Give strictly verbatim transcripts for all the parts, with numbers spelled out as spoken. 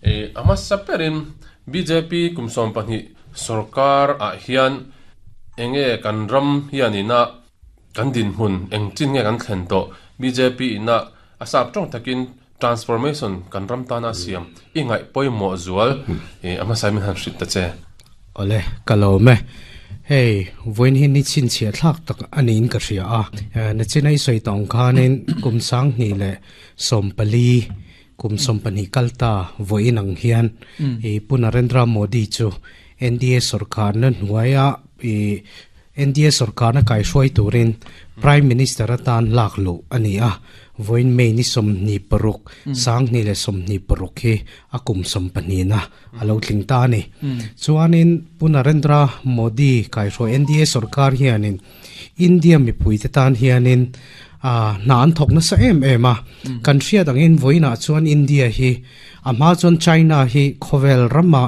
E ama saperin B J P kumsom pahnih sarkar a hian enge kan ram hianina kan din hun eng chin nge kan thlen to B J P ina asap tong takin transformation kan ram ta na siam ingai poimo zual e ama saimin han hrit ta che ole kalome hey voin hin ni chin chia thak tak anin ka ria a na chinai soi tong khanin kum sang ni le sompali kum sompani kalta voin ang hian e Pu Narendra Modi chu N D A sarkar na hnuaia e N D A sarkar na kai hruai turin Prime Minister atan lak lo ani a voin mei ni som ni paruk sang ni le som ni paruk hi akum som pani na alo tling ta ni chuanin Pu Narendra Modi kai hruai N D A sarkar hianin India mi pui te tan hianin a nan thok na sa em em a kan hria dangin voina chuan India hi ama chuan China hi khovel rama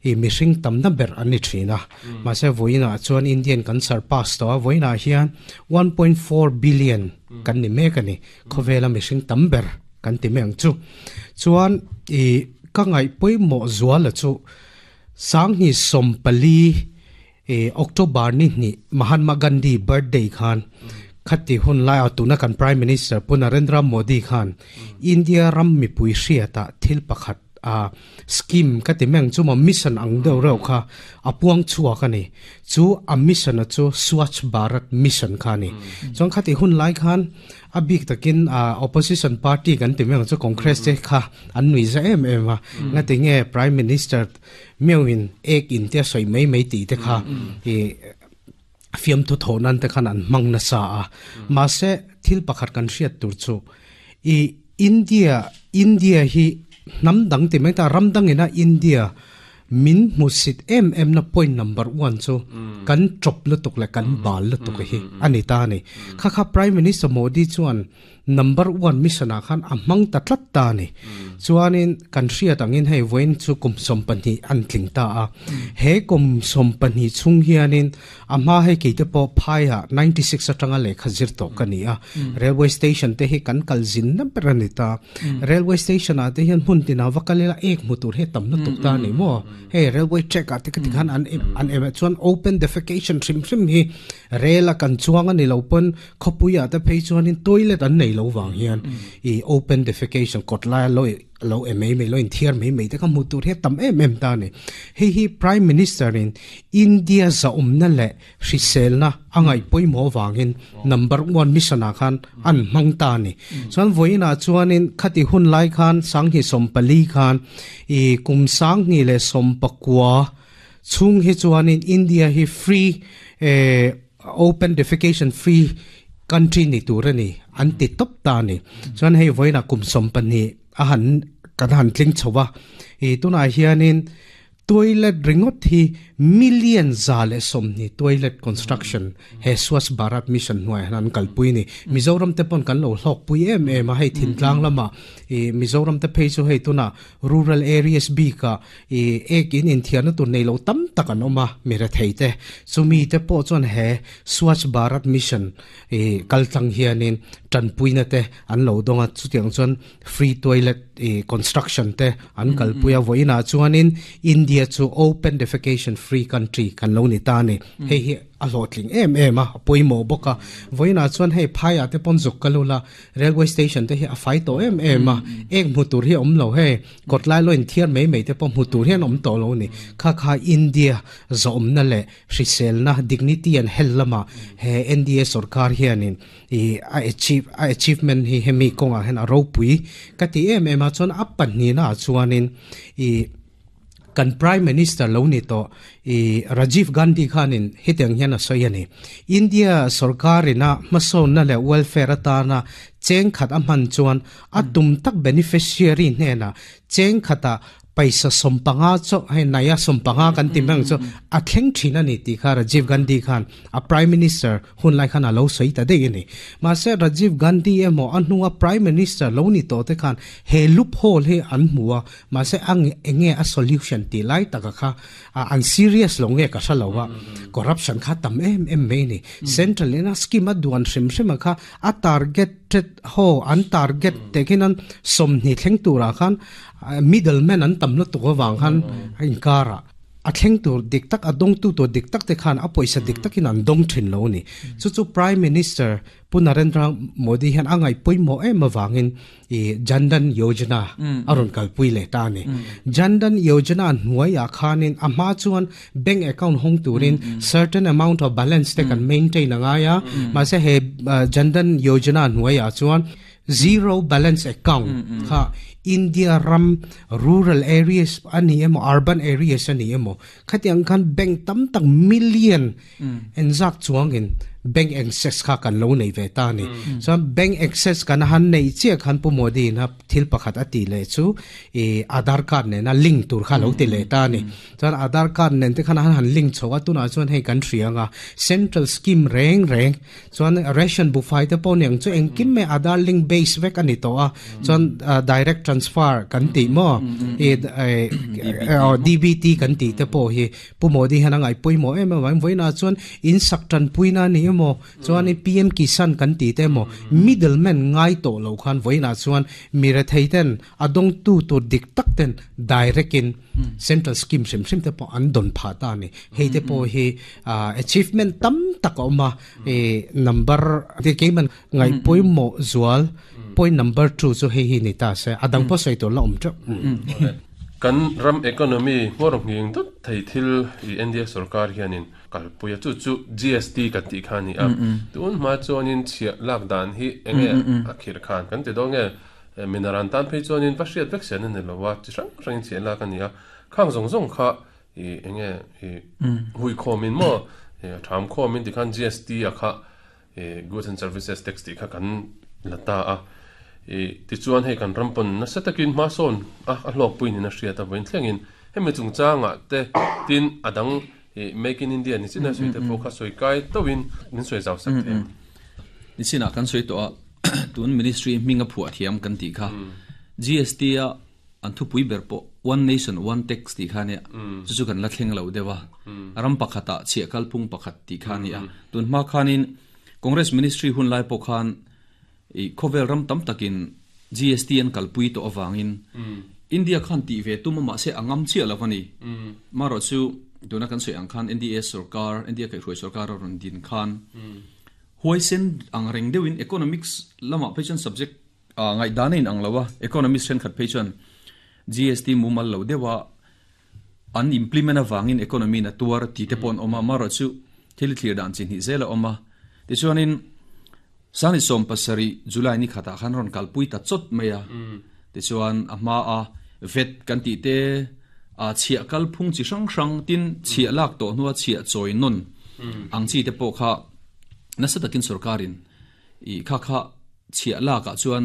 e missing tam na ber ani thina ma se voina chuan Indian kan surpass to voina hian one point four billion kan ni me kani khovela missing tam ber kan ti meng chu chuan e ka ngai poi mo zuala chu sang ni sompali e October ni ni Mahatma Gandhi birthday khan khati hun lai atuna kan Prime Minister Pu Narendra Modi khan India ram mi pui hriata thil pakhat a scheme ka ti meng chu ma mission ang deuh reuh kha apuang chua ka ni chu a mission a chu Swachh Bharat mission kha ni chuan khati hun lai khan a bik takin a opposition party kan ti meng chu Congress te kha an nui za em em a nga ti nge Prime Minister meuin ek in te soi mei mei ti te kha e fiam thu thonan te khan an mang na sa a ma se thil pakhat kan hriat tur chu i India India hi nam dang ti mai ta ram dang ina India min musit em em na point number one chu kan chop lu tuk le kan bal lu tuk hi ani ta ni kha kha Prime Minister Modi chuan number one mission a khan amang ta tlat ta ni chuanin kan hriat angin hei voin chu kum som pahnih an tling ta a he kum som pahnih chung hianin ama hei keite pawh phaiah ninety-six atanga lehkha zir tawh ka ni a railway station te hi kan kal zin na ber ani ta railway station ah te hian hmun tina va kalela ek hmu tur he tam na tuk ta ni maw hei railway track ah te ka ti khan an an em chuan open defecation hrim hrim hi rail a kan chuang ani lo pawn khawpui ah te phei chuanin toilet an nei lo wang hian i open defecation kot lai lo lo em mei lo in thiar mei mei te ka mu tur he tam em em ta ni hei hi Prime Minister in India za umna le hrisel na angai poimo wangin number one mission a khan an mang ta ni chuan voina chuanin khati hun lai khan sang hi sompali khan i kum sang ni le sompakwa chung hi chuanin India hi free eh, open defecation free country ni tur ani an ti top ta ni chuan hei voina kum sompani a han kan han tling chhowa e tuna hianin toilet ringot hi million zale somni toilet construction he Swachh Bharat mission hnuai han kalpui ni Mizoram te pon kan lo hlok pui em em a hei thintlang lama e Mizoram te phei chu hei tuna rural areas bi ka e ek in in thian tu nei lo tam tak an oma mera thei te chumi te pawh chuan he Swachh Bharat mission e kaltlang hianin tanpuina te an lo donga chutiang chuan free toilet e construction te an kalpuia voina chuanin India chu open defecation free country kan lo ni ta ni hei hi a hlawhtling em em a poimo boka voina chuan hei phaia te pon zuk kalula railway station te hi a fai to em em a ek mu tur hi om lo he kotlai lo in thiar mei mei te pon mu tur hian om to lo ni kha kha India zom na le hrisel na dignity and hell lama he N D A sarkar hianin i a achieve a achievement hi hemi konga hen a ropui ka ti em em a chuan a pan ni na chuanin i kan Prime Minister lo ni to i Rajiv Gandhi khanin hiteng hian a sawi ani India sarkarina hmasawn na le welfare atana cheng khat a hman chuan a tum tak beneficiary hnena cheng khata paisa sompanga cho hei naya sompanga kan ti mang cho a thleng thin ani ti kha Rajiv Gandhi khan a Prime Minister hun lai khan a lo sei ta dei ani ma se Rajiv Gandhi emo anua Prime Minister lo ni to te khan he loophole he an muwa ma se ang enge a solution ti lai taka kha an serious lo nge ka salowa corruption kha tam em em me ni central ina scheme a duan hrim hrim kha a target Hundred ho an target te khinan som ni thleng tura khan middleman an tam lo tu wang khan in kara a thleng tur dik tak a dong tu to dik tak te khan a poisa dik takin an dong thin lo ni chu chu Prime Minister Pu Narendra Modi hian angai poimo em awangin i Jan Dhan Yojana aron kalpui le ta ni. Jan Dhan Yojana hnuai a khanin a ma chuan bank account hong turin certain amount of balance te kan maintain anga ya ma se he Jan Dhan Yojana hnuai a chuan zero balance account kha India ram rural areas ani emo urban areas ani emo khatiang khan bank tam tak million en zak chuangin bank access kha kan lo nei ve ta ni. So bank access kan han nei che khan Pu Modi na thil pakhat ati le chu e Aadhaar card ne na link tur kha lo ti le ta ni. Chuan Aadhaar card nen te khan han han link chowa tu na chuan hei kan thrianga central scheme reng reng chuan ration buffet te pawh niang chu engkim me Aadhaar link base vek ani to a chuan direct transfer kan ti mo e D B T kan ti te pawh hi Pu Modi han angai poimo em em voina chuan in sak tan puina ni mo chuan P M Kisan kan ti te mo middleman ngai to lo khan voina chuan mira theiten adong tu tu dik tak ten direct in central scheme sim sim te po an don pha ta ni. Hei te po hi achievement tam tak oma e number te keman ngai poimo zual point number two chu hei hi ni ta se adang po sei to la om cha kan ram economy ngorong nging dot thei thil i India sarkar hianin kalpuia chu chu G S T kan ti khani a tun ma chuanin chia lak dan hi enge a khir khan kan ti do nge minaran tan phei chuanin va hriat vek sen ani lowa chi hrang hrang chia lak ani a khang zong zong kha i enge i hui khomin mo tham khomin ti khan G S T a kha goods and services tax ti kha kan lata a e ti chuan hei kan rampon na setakin ma son a a hlok puin na hriat a voin thlengin hemi chungchanga te tin adang e Make in India ni china sui te pawh kha soi kai tawin min soi zau sak the ni china kan soi to a tun ministry minga phua thiam kan ti kha G S T a an thu pui ber po one nation one tax ti kha ne chu chu kan la thleng lo dewa ram pakhata chhia kalphung pakhat ti kha ni a tun ma khanin Congress ministry hun lai po khan i khovel ram tam takin G S T an kalpui to awangin India khan ti ve tuma ma se angam chi alawani maro chu tuna kan soi ang khan N D A sarkar India kai hroi sarkar ron din khan huaisen ang reng deuin economics lama phechen subject ngai danin ang lawa economics then khat phechen G S T mumal lo dewa an implement awangin economy na tuar ti te pon oma maro chu thil thlir dan chin hi zela oma ti chuanin sani som pasari July ni khata khan ron kalpui ta chot meya ti chuan a ma a vet kan ti te a chhia kalphung chi hrang hrang tin chhia lak to nuwa chhia choi non ang chi te pawh kha nasa takin sarkarin i kha kha chhia lak ah chuan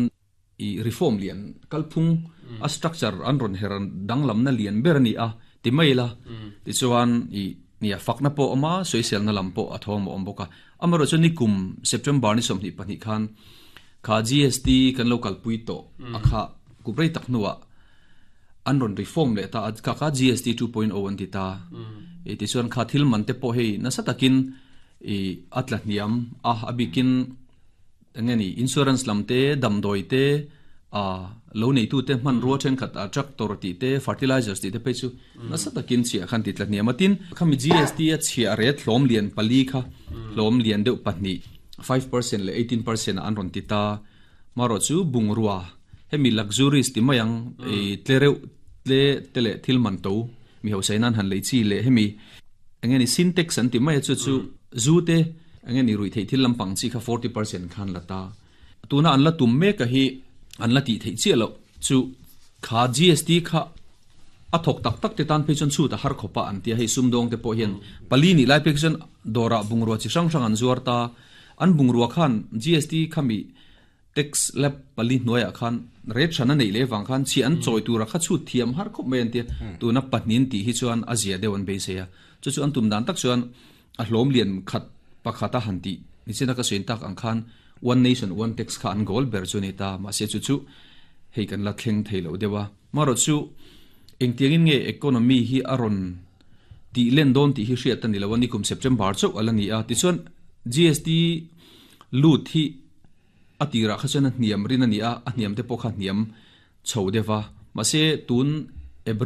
i reform lian kalphung a structure an ron heran danglam na lian ber ani a ti mai la ti chuan i nia fakna pawh awm a soisel na lam pawh a thawm a awm bawk a amaro chu ni kum September ni sawmhnih pahnih khan kha G S T kan lo kalpui tawh a kha kubrei tak hnuah an ron reform le ta kha kha G S T two point oh an ti ta e ti chuan kha thil man te pawh hei nasa takin i atla hniam a abikin engeni insurance lam te damdoi te a lo nei tu te hman ruwa then khat a tractor ti te fertilizers ti te phei chu nasa takin chhia khan ti tla hniam atin khami G S T a chhia ret hlawm lian pali kha hlawm lian deuh pahnih five percent le eighteen percent an ron ti ta maro chu bungrua hemi luxuries ti mayang e tlereu tle tele thil man to mi ho sainan han lei chi le hemi engeni syntax an ti mai chu chu zu te engeni rui thei thil lampang chi kha forty percent khan lata tuna an la tum me ka hi an la ti thei chi lo chu kha G S T kha a thok tak tak te tan phei chon chu ta har khopa an tia hei sumdong te pawh hian pali ni lai phei chon dora bungrua chi hrang hrang an zuar ta an bungrua khan G S T khami tax lab pali hnuaiah khan rate hran a nei le wang khan chi an chawi tura kha chu thiam har khawp mai an tia tuna pahnin tih hi chuan a zia deuh an beisei a chu chu an tum dan tak chuan a hlawm lian khat pakhata han ti nichina ka sawi tak ang khan one nation one tax kha an goal ber chu ni ta ma se chu chu hei kan la thleng thei lo dewa maro chu engtiangin nge economy hi a rawn ti len dawn tih hi hriat ani lo ani kum September chauh ala ni a ti chuan G S T lut hi Atira kha chuan a hniam rin ani a, a hniam te pawh kha hniam chho deuha. Mahse tun April